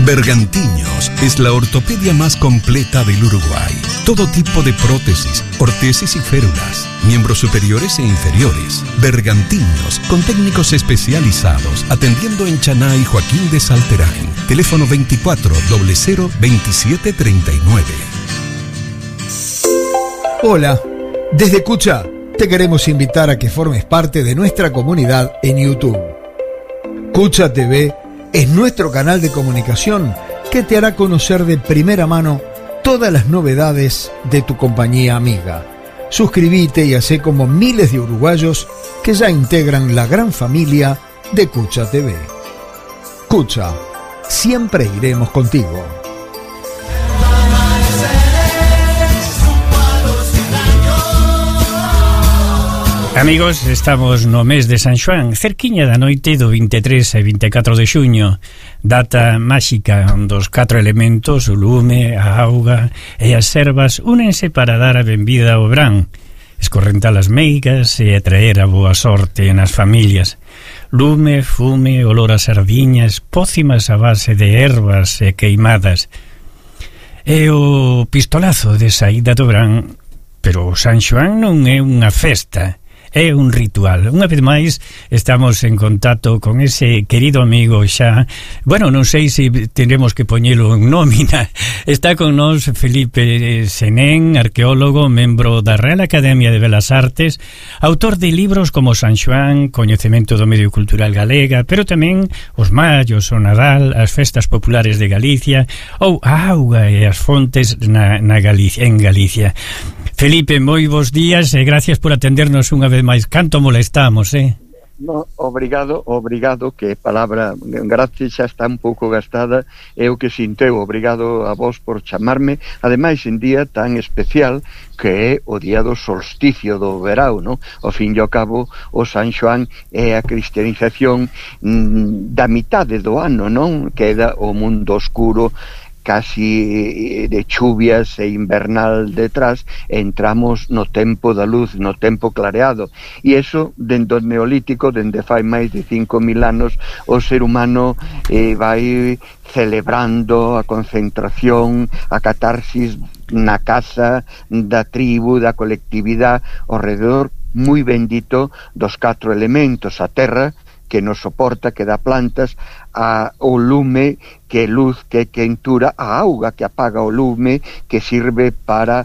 Bergantiños es la ortopedia más completa del Uruguay. Todo tipo de prótesis, ortesis y férulas, miembros superiores e inferiores. Bergantiños, con técnicos especializados, atendiendo en Chaná y Joaquín de Salterain. Teléfono 24 00 27 39. Hola, desde Cucha te queremos invitar a que formes parte de nuestra comunidad en YouTube. Cucha TV es nuestro canal de comunicación que te hará conocer de primera mano todas las novedades de tu compañía amiga. Suscríbete y hacé como miles de uruguayos que ya integran la gran familia de Cucha TV. Cucha, siempre iremos contigo. Amigos, estamos no mes de San Xoán, cerquiña da noite do 23 e 24 de xuño, data máxica dos 4 elementos, o lume, a auga e as servas únense para dar a benvida ao verán, escorrentar as meigas e atraer a boa sorte nas familias. Lume, fume, olor a sardiñas, pócimas a base de ervas e queimadas. E o pistolazo de saída do verán, pero o San Xoán non é unha festa, é un ritual. Unha vez máis estamos en contacto con ese querido amigo xa. Bueno, non sei se tenemos que poñelo en nómina. Está con nós Felipe Senén, arqueólogo, membro da Real Academia de Belas Artes, autor de libros como San Xoán, Coñecemento do Medio Cultural Galega, pero tamén os Mallos, o Nadal, as festas populares de Galicia ou a auga e as fontes en Galicia. Felipe, moi bons días e gracias por atendernos unha vez máis. Canto molestamos, No, obrigado, que palabra gracias xa está un pouco gastada, é o que sinteu. Obrigado a vos por chamarme, ademais en día tan especial que é o día do solsticio do verao, no? Ao fin e ao cabo, o San Xoán é a cristianización da mitade do ano, non? Queda o mundo oscuro, casi de chuvias e invernal detrás, entramos no tempo da luz, no tempo clareado, e eso, dende o neolítico, dende fai máis de 5.000 anos, o ser humano vai celebrando a concentración, a catarsis na casa da tribu, da colectividade, ao redor moi bendito dos 4 elementos: a terra, que nos soporta, que dá plantas, o lume, que é luz, que é quentura, a auga, que apaga o lume, que sirve para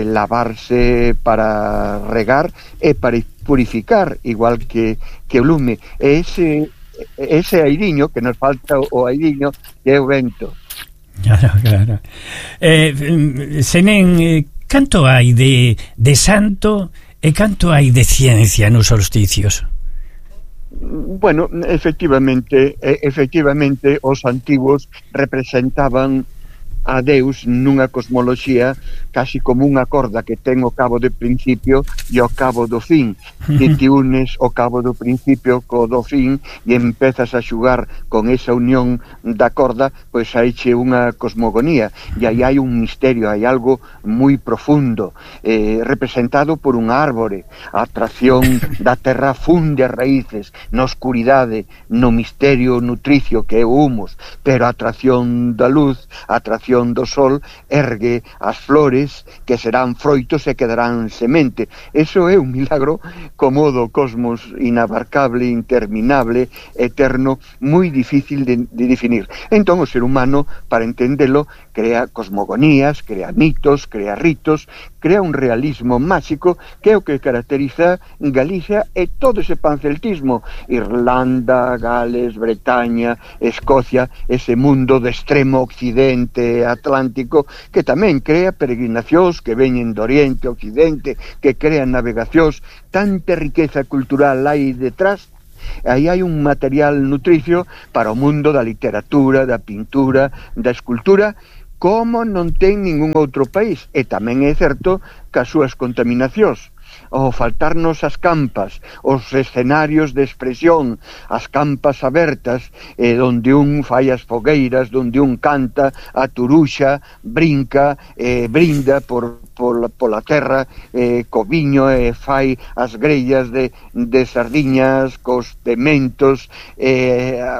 lavarse, para regar e para purificar, igual que o lume. Ese airiño, que nos falta o airiño, que é o vento. Claro. Senén, canto hai de santo e canto hai de ciencia nos solsticios? Bueno, efectivamente os antigos representaban a Deus nunha cosmoloxía casi como unha corda que ten o cabo de principio e o cabo do fin. Se te unes o cabo do principio co do fin e empezas a xugar con esa unión da corda, pois haiche unha cosmogonía, e aí hai un misterio, hai algo moi profundo, representado por unha árbore. A atracción da terra funde as raíces na oscuridade, no misterio nutricio que é o humus, pero a atracción da luz, a atracción do sol, ergue as flores que serán froitos e que darán semente. Eso é un milagro como do cosmos inabarcable, interminable, eterno, moi difícil de definir. Entón o ser humano, para entendelo, crea cosmogonías, crea mitos, crea ritos, crea un realismo máxico que é o que caracteriza Galicia e todo ese panceltismo, Irlanda, Gales, Bretaña, Escocia, ese mundo de extremo occidente atlántico, que tamén crea peregrinacións que veñen do Oriente, Occidente, que crean navegacións. Tanta riqueza cultural hai detrás. Aí hai un material nutricio para o mundo da literatura, da pintura, da escultura, como non ten ningún outro país. E tamén é certo que as súas contaminacións. ao faltarnos as campas, os escenarios de expresión, as campas abertas, donde un fai as fogueiras, donde un canta, a turuxa, brinca, brinda pola terra, co viño, fai as grellas de sardiñas, cos pementos,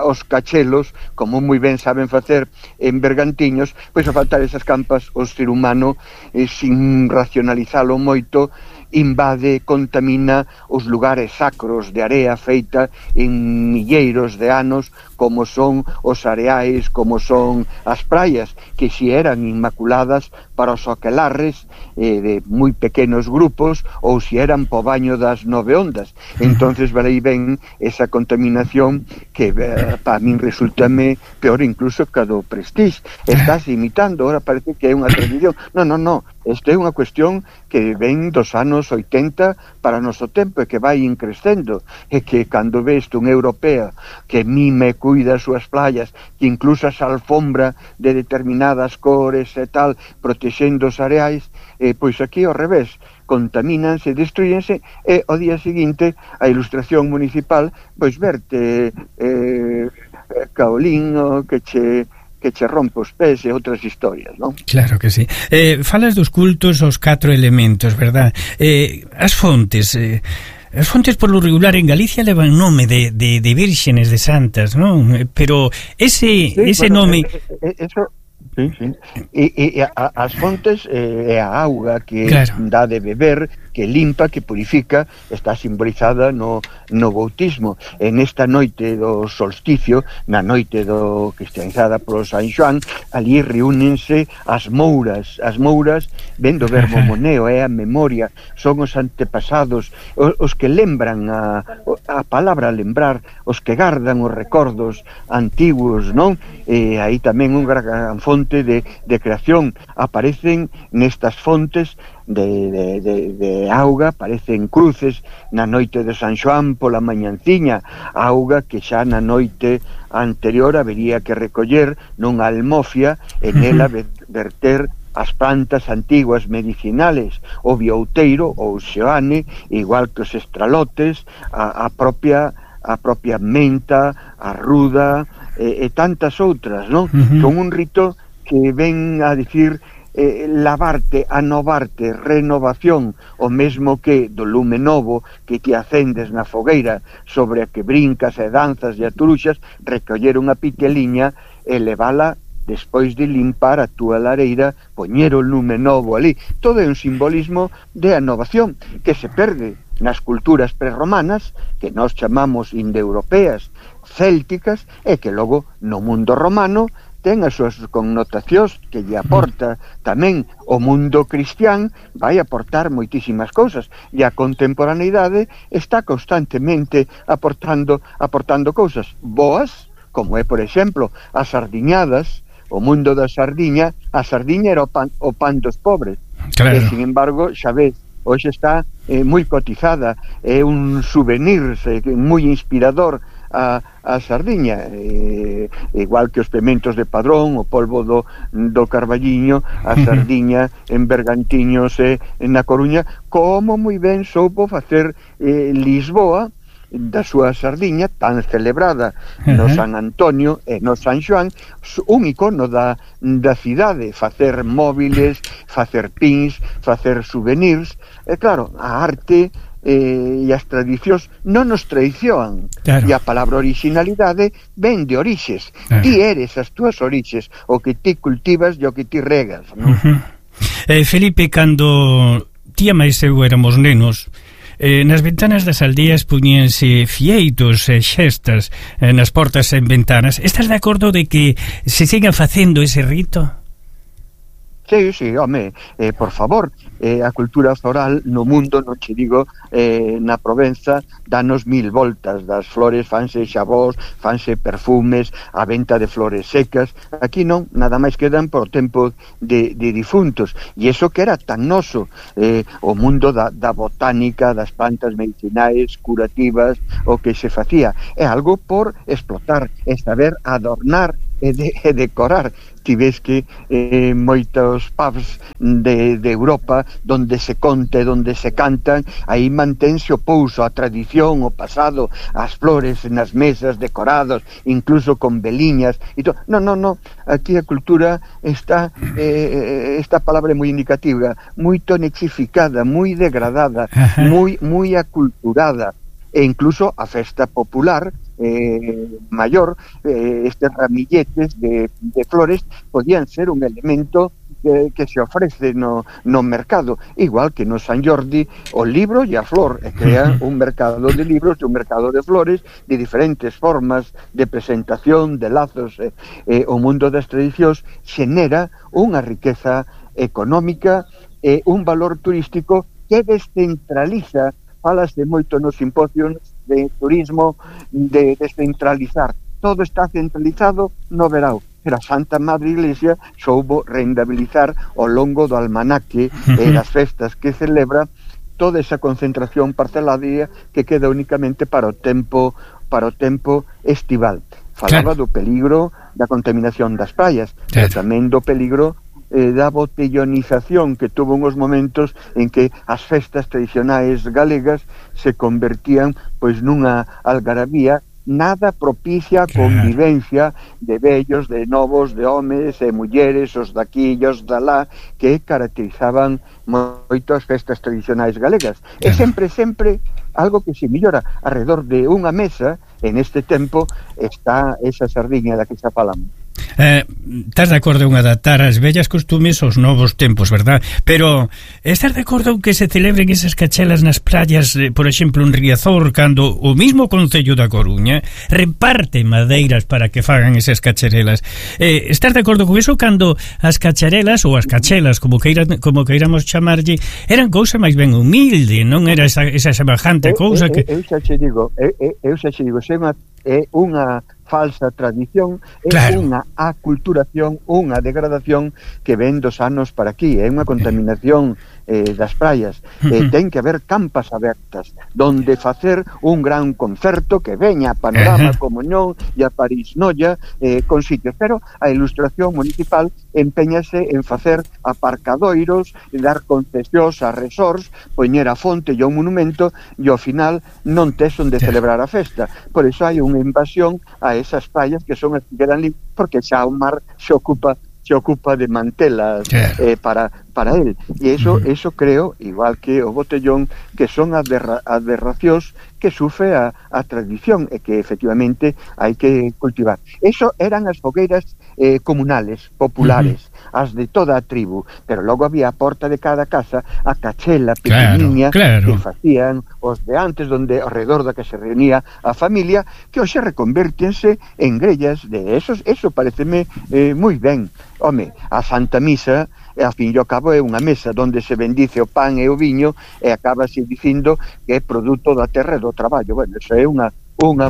os cachelos, como moi ben saben facer en Bergantiños. Pois a faltar esas campas, o ser humano, sin racionalizalo moito, invade, contamina os lugares sacros de area feita en milleiros de anos, como son os areais, como son as praias, que si eran inmaculadas para os aquelarres de moi pequenos grupos, ou si eran po baño das 9 ondas. Entonces valei ben esa contaminación que para min resultame peor incluso que a do Prestige. Estás imitando, ahora parece que é unha tradición. Non, isto é unha cuestión que ven dos anos 80 para o noso tempo e que vai increscendo, e que cando ves unha europea que mime, cuida as súas playas, que incluso as alfombra de determinadas cores e tal, protexendo os areais, pois aquí ao revés, contamínanse, destruyense, e ao día seguinte a ilustración municipal pois verte caolín que che rompe os pés e outras historias, non? Claro que sí. Falas dos cultos aos 4 elementos, verdad? As fontes por lo regular en Galicia levan nome de vírgenes, de santas, non? Pero ese nome... Eso... Sí. E as fontes é a auga que dá de beber, que limpa, que purifica, está simbolizada no bautismo. En esta noite do solsticio, na noite cristianizada polo San Xoán, ali reúnense as mouras. As mouras, ven do verbo moneo, é a memoria, son os antepasados, os que lembran a palabra lembrar, os que gardan os recordos antiguos, non? E aí tamén unha gran fonte de creación. Aparecen nestas fontes de auga, aparecen cruces na noite de San Xoán pola mañanciña, auga que xa na noite anterior habería que recoller nunha almofia e nela verter as plantas antiguas medicinales, o biouteiro ou xeane, igual que os estralotes, a propia menta, a ruda e tantas outras, non? Con un rito que ven a dicir lavarte, anovarte, renovación, o mesmo que do lume novo que te acendes na fogueira sobre a que brincas e danzas e aturuxas, recoller unha piteliña e levala despois de limpar a túa lareira, poñer o lume novo ali. Todo é un simbolismo de anovación que se perde nas culturas prerromanas, que nós chamamos indoeuropeas, célticas, e que logo no mundo romano ten as súas connotacións que lle aporta tamén o mundo cristián, vai aportar moitísimas cousas, e a contemporaneidade está constantemente aportando cousas boas, como é, por exemplo, as sardiñadas, o mundo da sardiña. A sardiña era o pan dos pobres, claro. E, sin embargo, xa ves, hoxe está moi cotizada, é un souvenir moi inspirador a sardiña, igual que os pementos de Padrón, o polvo do Carballiño, a sardiña en Bergantiños e na Coruña, como moi ben soupo facer Lisboa da súa sardiña tan celebrada no San Antonio e no San Xoán, un icono da cidade, facer móviles, facer pins, facer souvenirs. E claro, a arte e as tradicións non nos traicionan, claro. E a palabra originalidade ven de orixes, ti eres as túas orixes, o que ti cultivas e o que ti regas, non? Felipe, cando ti e máis eu éramos nenos, nas ventanas das aldeas puñense fieitos e xestas nas portas e en ventanas. Estás de acordo de que se siga facendo ese rito? Sí, home, por favor, a cultura floral no mundo, non che digo, na Provenza, danos 1000 voltas, das flores fanse xabós, fanse perfumes, a venta de flores secas. Aquí non, nada máis quedan por tempo de difuntos, e iso que era tan noso, o mundo da botánica, das plantas medicinais, curativas, o que se facía, é algo por explotar, é saber adornar e decorar. Ti ves que moitos pubs de Europa donde se conte, donde se cantan, aí mantense o pouso, a tradición, o pasado, as flores nas mesas decorados, incluso con veliñas e todo. No, aquí a cultura está, esta palabra é moi indicativa, moi tonexificada, moi degradada, moi aculturada, e incluso a festa popular maior, estes ramilletes de flores podían ser un elemento que se ofrece no mercado, igual que no San Jordi o libro e a flor, e crean un mercado de libros e un mercado de flores de diferentes formas de presentación, de lazos. O mundo das tradicións xenera unha riqueza económica e un valor turístico que descentraliza. Falase moito nos simposios de turismo de descentralizar. Todo está centralizado no verao, pero a Santa Madre Iglesia soubo rentabilizar ao longo do almanaque e das festas que celebra toda esa concentración parcelaria que queda únicamente para o tempo estival. Falaba do peligro da contaminación das praias, pero tamén do peligro da botellonización que tuvo uns momentos en que as festas tradicionais galegas se convertían pois nunha algarabía nada propicia a convivencia de vellos, de novos, de homes e mulleres, os daqui e os dalá, que caracterizaban moito as festas tradicionais galegas. E sempre algo que se millora alrededor de unha mesa. En este tempo está esa sardiña da que xa falamos. Estás de acordo en adaptar as vellas costumes aos novos tempos, verdad? Pero estás de acordo en que se celebren esas cachelas nas praias, por exemplo, en Riazor, cando o mismo Concello da Coruña reparte madeiras para que fagan esas cacharelas? Estás de acordo con eso, cando as cacharelas ou as cachelas, como queiramos chamarlle, eran cousa máis ben humilde, non era esa semejante cousa que... Eu xa che digo, é unha falsa tradición, é unha aculturación, unha degradación que ven dos anos para aquí, é unha contaminación das praias. Ten que haber campas abertas donde facer un gran concerto que veña a Panorama, Comuñón e a París Noia con sitios, pero a ilustración municipal empeñase en facer aparcadoiros, dar concesións a resorts, poñer a fonte e un monumento, e ao final non tes onde celebrar a festa. Por iso hai unha invasión a esas praias que son as que quedan libres, porque xa o mar se ocupa de mantelas para él. E eso creo, igual que o botellón, que son aberracións que sufre a tradición e que efectivamente hai que cultivar. Eso eran as fogueiras comunales, populares, as de toda a tribu, pero logo había a porta de cada casa a cachela pequeniña que facían os de antes, donde alrededor da que se reunía a familia, que hoxe reconvértense en grellas de esos. Eso pareceme moi ben. Home, a Santa Misa, a fin e ao cabo, é unha mesa onde se bendice o pan e o viño e acabase dicindo que é produto da terra e do traballo. Bueno, eso é unha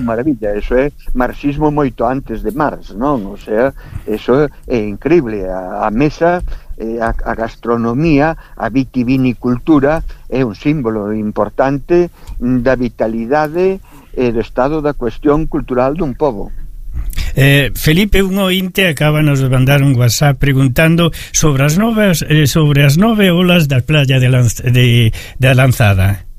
maravilla, eso é marxismo moito antes de Marx, non? O sea, eso é increíble. A mesa, a gastronomía, a vitivinicultura é un símbolo importante da vitalidade e do estado da cuestión cultural dun pobo. Felipe, un ointe acábanos de mandar un WhatsApp preguntando sobre as 9 olas da playa da Lanzada.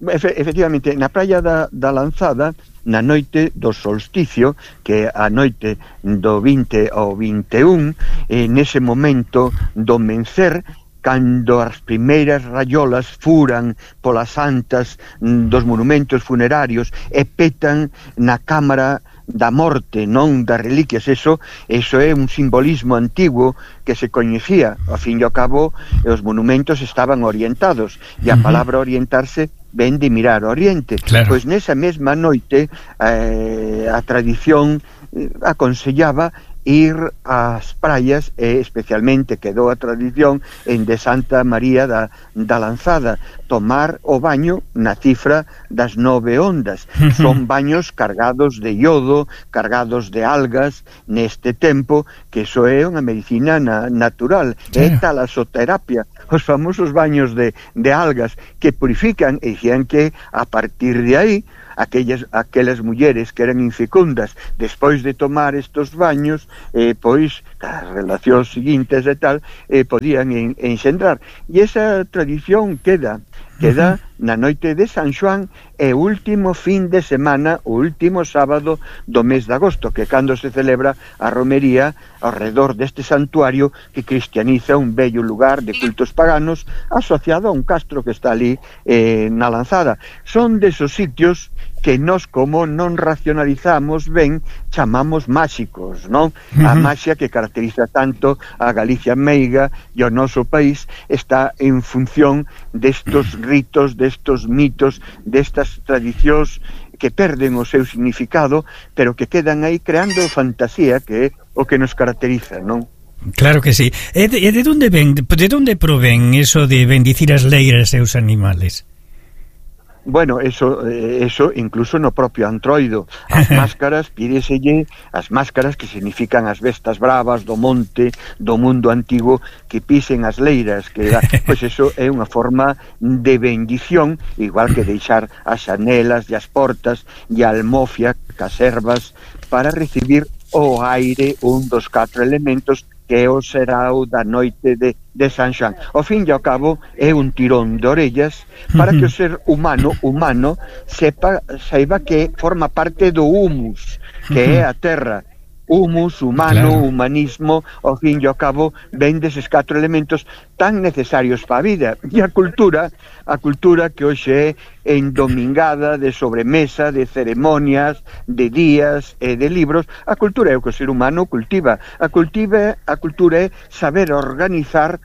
Efectivamente, na praia da Lanzada, na noite do solsticio, que a noite do 20 ao 21, nese momento do mencer, cando as primeiras raiolas furan polas antas dos monumentos funerarios e petan na cámara da morte, non das reliquias. Eso é un simbolismo antigo que se coñecía. Ao fin e ao cabo, os monumentos estaban orientados, e a palabra orientarse ven de mirar ao oriente. Pois nesa mesma noite a tradición aconsellaba ir ás praias, e especialmente quedou a tradición en de Santa María da Lanzada, tomar o baño na cifra das 9 ondas. Son baños cargados de iodo, cargados de algas neste tempo, que iso é unha medicina natural. É talasoterapia, os famosos baños de algas que purifican, e dicían que a partir de aí aquelas mulleres que eran infecundas despois de tomar estos baños, pois as relacións seguintes e tal, podían enxendrar. E esa tradición queda na noite de San Xoán, e o último fin de semana, o último sábado do mes de agosto, que cando se celebra a romería ao redor deste santuario que cristianiza un bello lugar de cultos paganos asociado a un castro que está ali na Lanzada. Son desos sitios que nós, como non racionalizamos ben, chamamos máxicos, non? A maxia que caracteriza tanto a Galicia meiga e o noso país está en función destos ritos, destos mitos, destas tradicións que perden o seu significado, pero que quedan aí creando fantasía, que é o que nos caracteriza, non? Claro que sí. E de onde provén eso de bendicir as leiras e os animales? Bueno, eso incluso no propio Antroido. As máscaras, pídeselle as máscaras que significan as bestas bravas do monte, do mundo antigo, que pisen as leiras, que pois eso é unha forma de bendición, igual que deixar as xanelas e as portas e a almofia, caservas, para recibir o aire, un dos 4 elementos que é o serao da noite de San Xoán. Ao fin e ao cabo é un tirón de orellas para que o ser humano saiba que forma parte do humus, que é a terra. Humus, humano, claro. Humanismo, ao fin e ao cabo ven deses 4 elementos tan necesarios para a vida. E a cultura que hoxe é endomingada de sobremesa, de ceremonias, de días e de libros. A cultura é o que o ser humano cultiva. A cultura é saber organizar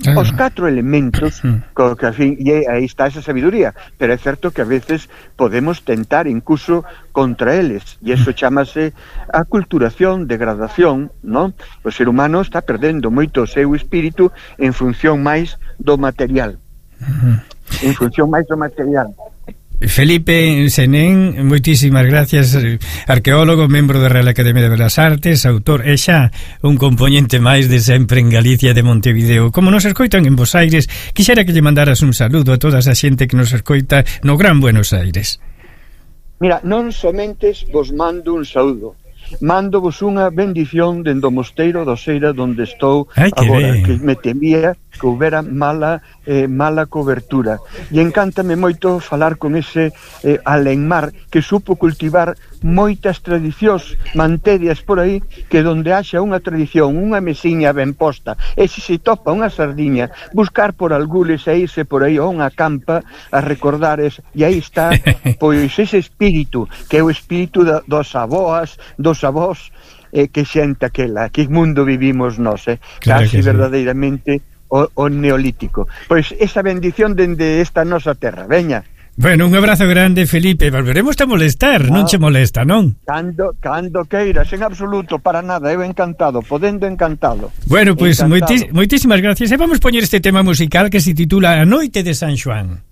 os 4 elementos que a fin, e aí está esa sabiduría, pero é certo que a veces podemos tentar incluso contra eles, e eso chamase aculturación, degradación, non? O ser humano está perdendo moito o seu espírito en función máis do material. Felipe Senén, moitísimas gracias, arqueólogo, membro da Real Academia de Belas Artes, autor e xa un componente máis de sempre en Galicia de Montevideo. Como nos escoitan en Bos Aires, quixera que lle mandaras un saludo a toda esa xente que nos escoita no Gran Buenos Aires. Mira, non somente vos mando un saúdo, mando vos unha bendición dende o mosteiro do Seira donde estou agora, que me temía que houbera mala cobertura, e encántame moito falar con ese Alenmar que supo cultivar moitas tradicións, mantedias por aí, que donde haxa unha tradición, unha mesiña ben posta, e se topa unha sardiña, buscar por algules e irse por aí a unha campa a recordar e aí está pois ese espírito, que é o espírito dos avós, que xente aquela, que mundo vivimos nós, claro, casi verdadeiramente o neolítico. Pois esa bendición dende esta nosa terra, veña. Bueno, un abrazo grande, Felipe. Volveremos a molestar, non che molesta, non? Cando queiras, en absoluto, para nada, eu encantado, podendo encantado. Bueno, pois moitísimas gracias. E vamos poñer este tema musical que se titula A Noite de San Xoán.